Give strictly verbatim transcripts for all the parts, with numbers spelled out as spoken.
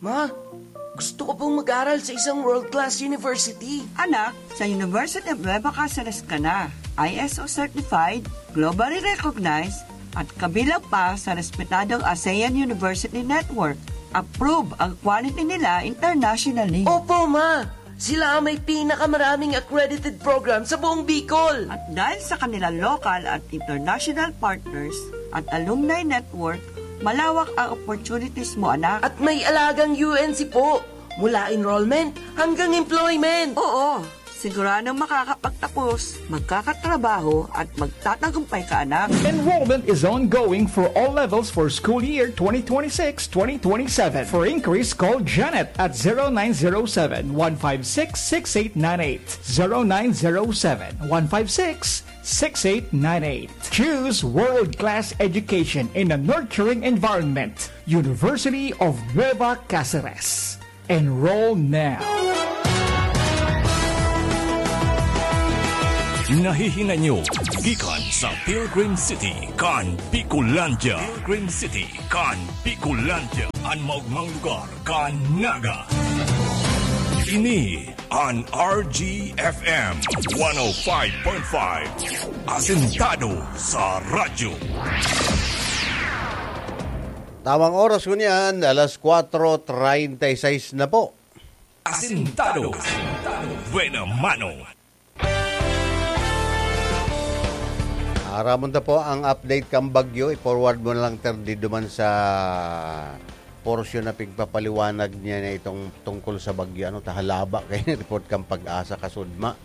Ma, gusto ko pong mag-aral sa isang world-class university. Anak, sa University of Nueva Caceres ka na. I S O certified, globally recognized, at kabilang pa sa respetadong ASEAN University Network. Approve ang quality nila internationally. Opo, ma! Sila ang may pinakamaraming accredited program sa buong Bicol. At dahil sa kanilang local at international partners at alumni network, malawak ang opportunities mo, anak. At may alagang U N C po, mula enrollment hanggang employment. Oo, siguradong makakapagtapos, magkakatrabaho, at magtatagumpay ka, anak. Enrollment is ongoing for all levels for school year twenty twenty-six twenty twenty-seven. For inquiries, call Janet at zero nine zero seven, one five six, six eight nine eight. Zero nine zero seven, one five six, six eight nine eight. Choose world-class education in a nurturing environment. University of Nueva Caceres. Enroll now. Nahihinay nyo gikan sa Pilgrim City kan Bicolandia. Pilgrim City kan Bicolandia, an maogmang lugar kan Naga. Ini an R G F M one oh five point five, asentado sa radyo. Tamang oras ngunyan, alas kwatro treinta y seis na po. Asentado. Buena mano. Aramon ta po ang update kan bagyo. I-forward mo na lang, Ter, di duman sa portion na pigpapaliwanag niya na itong tungkol sa bagyo. Ano, ta halaba kayo ni report kan Pag-asa kasudma.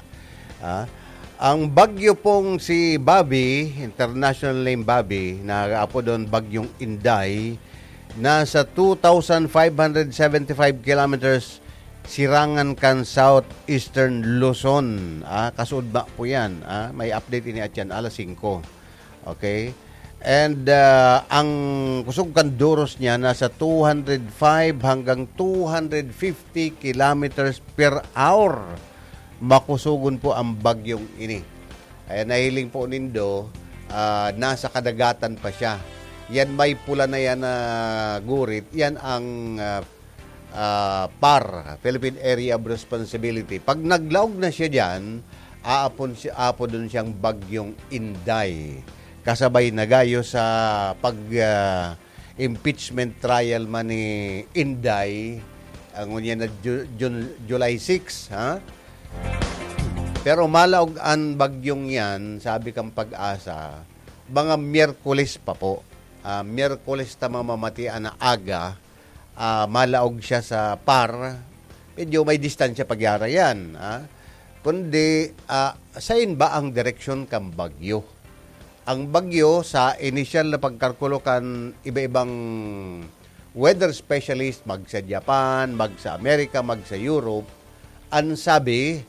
Ah, ang bagyo pong si Bobby, international name Bobby, na apodon Bagyong Inday, nasa two thousand five hundred seventy-five kilometers sirangan kan southeastern Luzon. Ah, kasudma po yan. Ah, may update ini at yan, alas singko. Okay? And, ah, ang kusog kan duros niya nasa two hundred five hanggang two hundred fifty kilometers per hour. Makusogon po ang bagyong ini. Kaya nahiling po nindo, ah, nasa kadagatan pa siya. Yan may pula na yan na gurit, yan ang, ah, ah, PAR, Philippine Area of Responsibility. Pag naglaog na siya diyan, aapon si-, aapodon siyang Bagyong Inday. Kasabay na gayo sa pag, ah, impeachment trial man ni Inday, ang unya na Ju-, Jun-, July six, ha? Pero malaog an bagyong yan, sabi kang Pag-asa, mga Miyerkules pa po. Ah, Miyerkules ta mamamatian na aga, ah, malaog siya sa PAR, medyo may distansya pagyara yan, ah. Kundi, ah, sain ba ang direksyon kan bagyo? Ang bagyo, sa inisyal na pagkalkulo kan iba-ibang weather specialist, mag sa Japan, mag sa Amerika, mag sa Europe, ang sabi,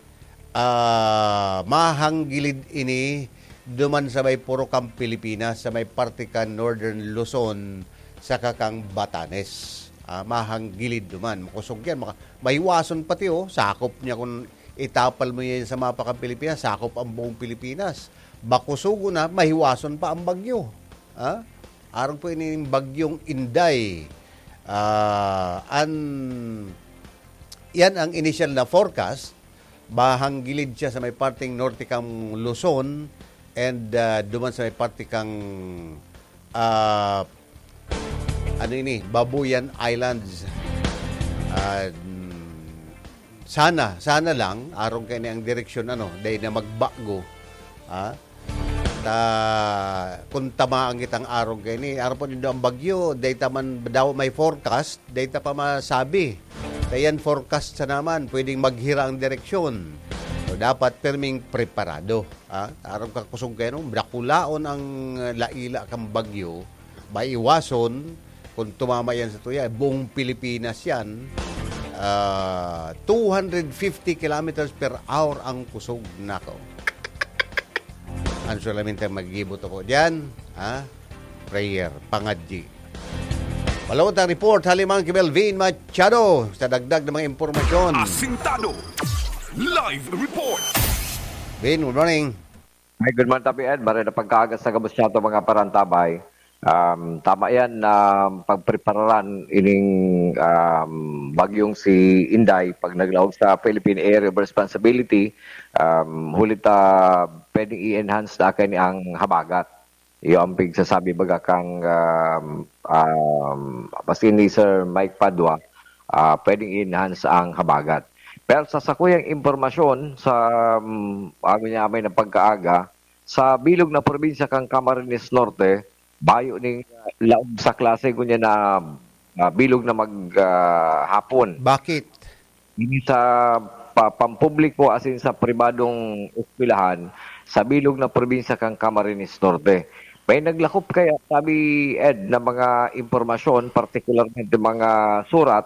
ah, mahanggilid ini duman sa may purok kan Pilipinas, sa may parte kan Northern Luzon, saka kan Batanes. Ah, mahanggilid duman. Makosog yan. Maka-, mahiwason pati, oh. Sakop niya kung itapal mo yan sa mapa kan Pilipinas, sakop ang buong Pilipinas. Makosogon na, mahiwason pa ang bagyo. Ah? Arog po ini ning Bagyong Inday. Ah, an-, yan ang initial na forecast. Mahanggilid siya sa may parteng norte kan Luzon and, ah, duman sa may parte kan, ah, ano ini, Babuyan Islands. Ah, mm, sana, sana lang, arog kaini ang direksyon, ano, dai na magbago. Ah, ta, kung tamaan kitang arog kaini, arog po nindo ang bagyo, dai ta man daw may forecast, dai ta pa masabi. Kaya yan, forecast sa naman, pwedeng maghira ang direksyon. So, dapat pirming preparado. Ah, arog ka kusog kayo, no? Dakulaon ang, ah, laila kang bagyo, maiwason, kung tumama yan sa tuya, buong Pilipinas yan. Ah, two hundred fifty kilometers per hour ang kusog, nako. Ang solamente ang magigibot ako dyan, ha? Prayer, pangadji. Malawot ang report, Halimang ki Melvin Machado, sa dagdag na mga impormasyon. Asintado. Live report. Vin, good morning. Hi, good morning, Tapi Ed. Maray na pagkaaga sa gabos niya to, mga parantabay. Um, tama yan na pagprepararan ining, um, bagyong si Inday pag naglaog sa Philippine Area of Responsibility, um, huli ta pwedeng i-enhance na kani ang habagat. Iyo ang pigsasabi baga kang, um, um, maski ni Sir Mike Padua, ah, pwedeng i-enhance ang habagat. Pero sa sakuyang impormasyon, sa, um, amo niya amay na pagkaaga, sa bilog na probinsya kang Camarines Norte, bayo ning, ah, laog sa klase ngunyan na, ah, bilog na mag, ah, hapon. Bakit? Ini sa pa, pampubliko asin sa pribadong eskwelahan sa bilog na probinsya kang Camarines Norte. May naglakop kaya, sabi Ed, na mga impormasyon, partikularmente mga surat,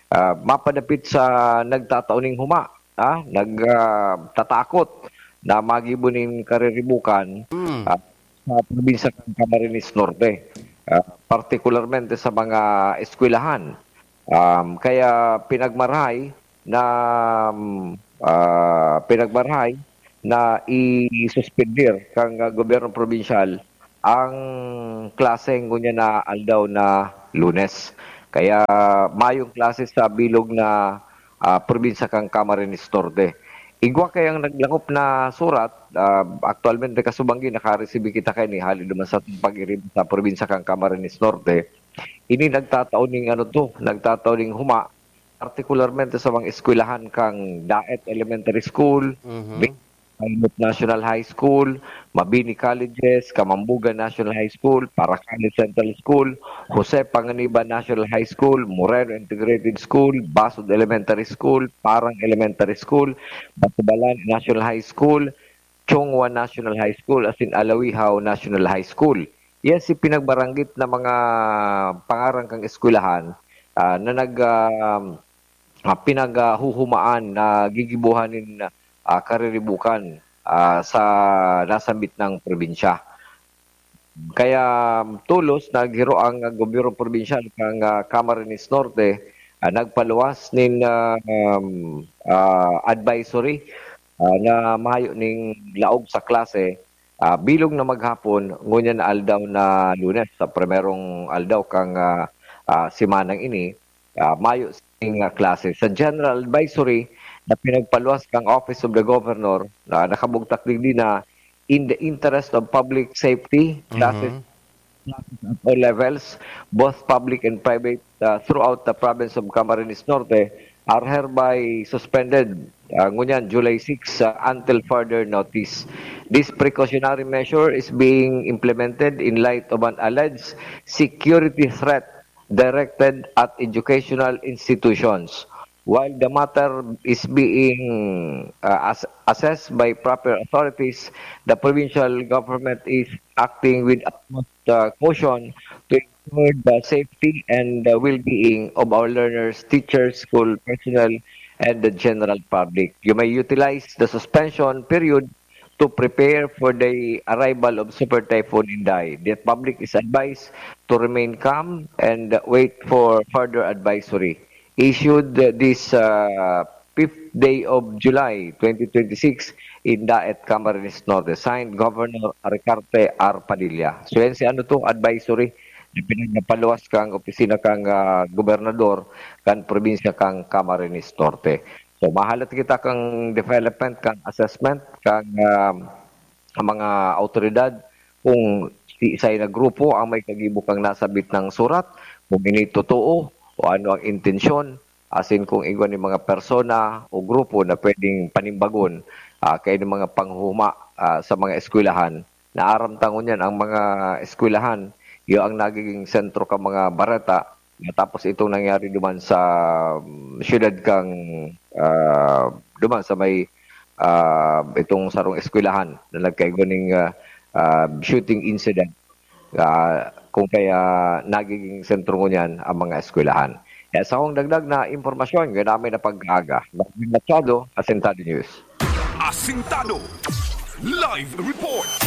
ah, mapadapit sa nagtatao ning huma, ah, nag, ah, tatakot na magibo nin kariribukan, Hmm. ah, sa probinsya kan Camarines Norte, ah, partikularmente sa mga eskwelahan. Um, kaya pinagmarahay na, um, ah, pinagmarahay na isuspender kang, ah, gobyerno probinsyal ang klase ngunyan na aldaw na Lunes. Kaya mayong klase sa bilog na, ah, probinsya kang Camarines Norte. Igwa kayang naglakop na surat, ah, aktualmente kasubanggi nakaresibi kita kaini hali duman sa pag-irib sa probinsya kang Camarines Norte. Ini nagtatao ning ano to, nagtatao ning huma, partikularmente sa mga eskwelahan kang Daet Elementary School, Mhm. Big Pilot National High School, Mabini Colleges, Kamambugan National High School, Paracali Central School, Jose Panganiban National High School, Moreno Integrated School, Basod Elementary School, Parang Elementary School, Batubalan National High School, Chongwa National High School, asin Alawihaw National High School. Yan si pinagbaranggit na mga pangaran kang eskwelahan, ah, na nag, ah, ah, pinaghuhumaan na gigibuhan nin, ah, kariribukan, ah, sa nasambit na probinsya. Kaya tolos naghiro ang gobyerno probinsyal kan, ah, Camarines Norte, ah, nagpaluwas nin, ah, um, ah, advisory, ah, na mayo nin laog sa klase, ah, bilog na maghapon, ngunyan na aldaw na Lunes, sa primerong aldaw kan, ah, ah, semanang ini, ah, mayo sing, ah, klase. Sa general advisory na pinagpaluwas kan Office of the Governor, na nakabugtak digdi na in the interest of public safety, classes, Mhm. classes at all levels, both public and private, ah, throughout the province of Camarines Norte are hereby suspended, ah, ngunyan, July six, ah, until further notice. This precautionary measure is being implemented in light of an alleged security threat directed at educational institutions. While the matter is being, uh, as-, assessed by proper authorities, the provincial government is acting with utmost, uh, caution to ensure the safety and the well-being of our learners, teachers, school personnel, and the general public. You may utilize the suspension period to prepare for the arrival of Super Typhoon Inday. The public is advised to remain calm and wait for further advisory issued this, uh, fifth day of July twenty twenty-six in Daet, Camarines Norte. Signed, Governor Ricarte R. Padilla. So yan si ano to, advisory na pinagpaluwas kang opisina kang, ah, gobernador kan probinsya kang Camarines Norte. So mahalat kita kang development, kang assessment, kang, ah, ang mga awtoridad kung si isay na grupo ang may kagibo kang nasabit na surat, kung ini totoo o ano ang intensyon, asin kung igwa ni mga persona o grupo na pwedeng panimbagon, ah, kay mga panghuma, ah, sa mga eskwelahan. Naaram ta ngunyan ang mga eskwelahan, iyo ang nagiging sentro ka mga bareta, matapos itong nangyari duman sa, um, siyudad kang, ah, duman sa may, ah, itong sarong eskwelahan na nagkaigwa ning, ah, ah, shooting incident. Ah, kung kaya nagiging sentro ngunyan ang mga eskwelahan. Kaya sa akong dagdag na impormasyon, ganamay na pag-aga. Marvin Machado, Asintado News. Asintado Live Report.